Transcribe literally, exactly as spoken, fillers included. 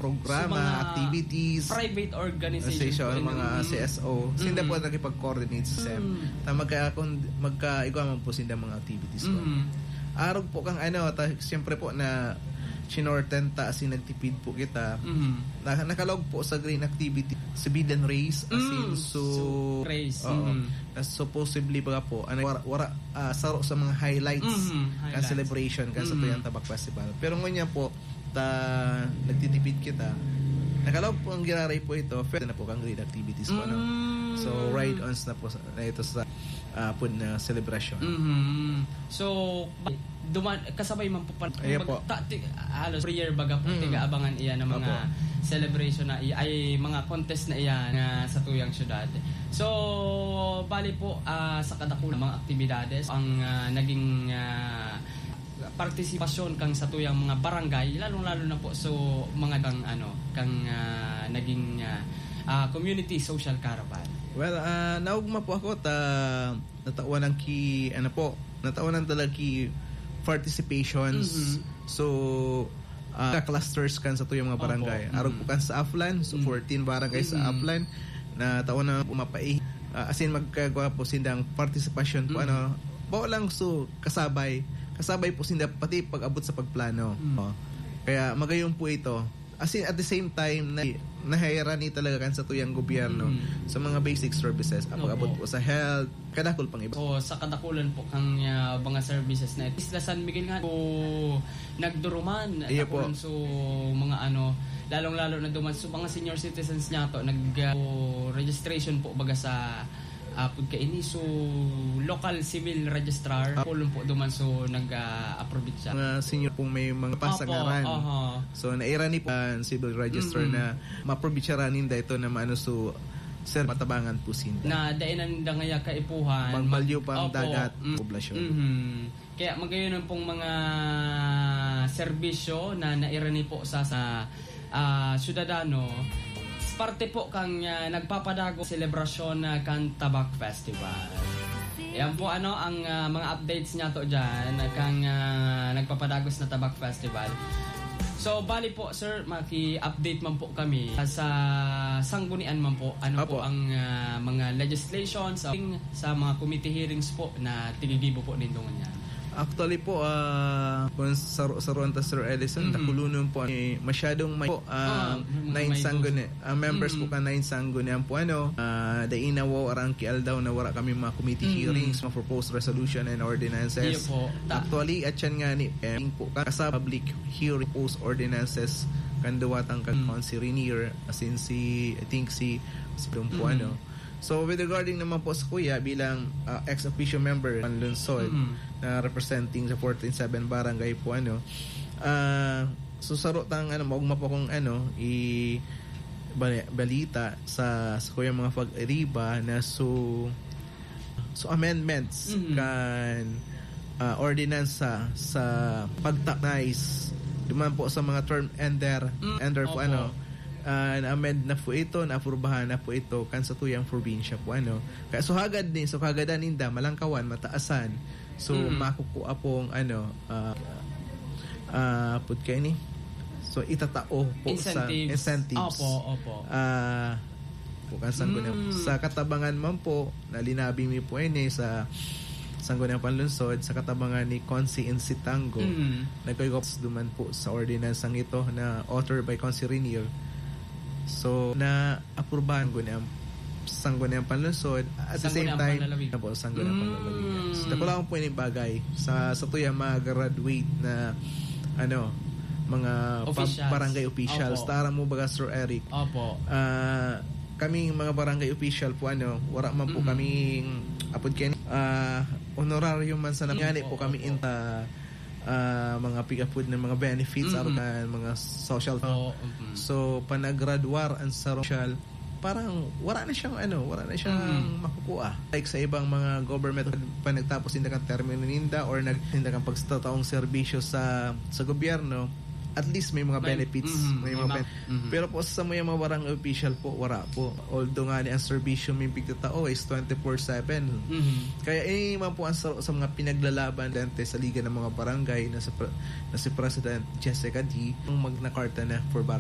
programa, So, mga activities, private organization organization, po, mga ano? C S O. Sinda Mm. po nakipag-coordinate sa sem. Mm. Na magka-, kung, magkaigwa man po sinda mga activities po. Mm. Arog po kang ano, ta-, siyempre po na chinorten ta, as in, nagtipid po kita. Mm. Na-, nakalaog po sa green activity, sa Bid and Race, as in, Mm. so, So, race. Oo. Mm. Na supposedly, baga po, ano, wara, wara, ah, saro sa mga highlights Mm, kan highlights. celebration, kan sa Mm. Tuyang Tabak Festival. Pero ngunyan po, ta, nagtitipid kita. Nakalaog po ang giraray po ito, pwede na po kang green activities po, no? Mm. So, ride-ons na po sa, na ito sa, ah, pud na selebrasyon. Mhm. So, ba-, duman, kasabay man po pa, Ayan po. ta-, ti-, halos every year baga po, Mm. tiga-abangan iyan ng mga Opo. celebration na i-, ay, mga contest na iyan nga sa tuyang syudad. So, bali po, ah, sa kadakulang mga aktibidades, ang, ah, naging, ah, partisipasyon kang sa tuyang mga barangay, lalong-lalo na po so mga kang, ano, kang, ah, naging, ah, ah, community social caravan. Well, ah, naugma po ako ta natawan ang ki-, ano po, natawan ang talaga ki participations. Mhm. So, ah, clusters kan sa tuyang mga Opo. barangay. Arog po Mhm. kan sa Aflan, so Mhm. fourteen barangay sa Mhm. Aflan, natawan na pumapai-, ah, as in, magkagwa po sindang partisipasyon po, Mhm. ano, bao lang so kasabay, kasabay po sinda pati pag-abot sa pagplano. Mhm. Oh. Kaya magayon po ito. As in, at the same time, na, nahairani talaga kan sa tuyang gobyerno Mhm. sa mga basic services. Ang Opo. pag-abot po sa health, kadakul pang iba. Oo, sa kadakulan po kang, ah, mga services na Isla San Miguel nga po nagduruman. Iyo po. Dakulan so mga ano, lalong-lalo na duman so mga senior citizens niya to, nag, ah, registration po baga sa, ah, pud kaini. So, local civil registrar, Ah. po lang po duman so nag, ah, approve siya. Mga senior pong may mga Opo, pasangaran. aha. So, nairani po ang civil register Mm. na maprobinsya ranin da ito na maano so, sir, matabangan po sinda. Na dai nanda ngaya kaipuhan. Magbalyo pa ang Opo. dagat, Mm. poblasyon. Mhm. Kaya magayon pong mga serbisyo na nairani po sa, sa, ah, syudadano, parte po kang, ah, nagpapadagos selebrasyon na kan Tabak Festival. Yan po, ano, ang, ah, mga updates niya to dyan, kang, ah, nagpapadagos na Tabak Festival. So, bali po, sir, maki-update man po kami sa sanggunian man po. Ano Apo. po ang, ah, mga legislations, sa, sa mga committee hearings po na tinigibo po nindo ngunyan? Actually po, ah, kung saro-, saruan ta, Sir Ellison, Mm. dakulonon po, eh, masyadong may po, ah, Ah, mga nine may sangguni-, ah, members po Mm. ka nine sanggunian po, ano, ah, dai na wara ang kialdaw na wara kami mga committee Mm. hearings, mga proposed resolution and ordinances. Iyo po. Ta- Actually, at yan nga ni, eh, po, kasabay public hearing, proposed ordinances, kan duwatang kan Mm. Consi Rainier, as in si, I think si, si Dom po, Mm. ano. So, with regarding naman po sa kuya, bilang, ah, ex officio member ng lungsod Mm. na representing sa fourteen seven barangay po, ano, ah, so, saro tang, ano, maugma po kung, ano, i-, bali-, balita sa, sa kuya mga pag-ariba na so, so, amendments Mm. kan, ah, ordinansa sa pagta-, nice, duman po sa mga term ender, Mm, ender po, opo. ano, ah, na-amend na po ito, naaprubahan na po ito kan sa tuyang probinsya po, ano. Kaya so hagad ni, so kagadan ninda, malangkawan, mataasan. So, Mm. makukua pong, ano, ah, ah, put kayo ni? So, itatao po sa Incentives. incentives. Opo, opo. Ah, po kan sanggunian. Mm. Sa katabangan man po, na linabi mi po ini sa Sangguniang Panlungsod, sa katabangan ni Consi Insitango, Mm. nagkagos duman po sa ordinansang ito na author by Consi Rainier. So, naaprubahan ko niya Sangguniang Panlungsod, at the same Sangguniang time, Panlalawigan. na po, Sangguniang Mm. Panlalawigan. So, dakula po yung bagay sa, sa tuyang mga graduate na, ano, mga pub-, Officials. barangay officials. Opo. Tara mo baga, Sir Eric? Opo. Ah, kaming mga barangay official po, ano, wala man po Mm. kaming, apod kayo, ah, honorarium man sa Mm, nangani po opo, kami opo. in, ah, ah, mga pig-apod na mga benefits, Mm. aron na mga social Oo, mm. So, panagradwar ang sa social, parang wala na siyang, ano, wala na siyang Mm. makukuha. Like sa ibang mga government, pag nagtapos ninda kan termino ninda or nag-, ninda kan pagtataong serbisyo sa, sa gobyerno, at least may mga May, benefits, mm, may may mga ma-, ben-, mm. Pero po sa mga, mga barangay official po, wala po. Although nga ni ang serbisyo may pigtatao is twenty-four seven. Mm. Kaya ini man po ang sa, sa mga pinaglalaban dante sa Liga ng mga Barangay na sa pre-, na si President Jessica D, ang magnakarta na for barangay.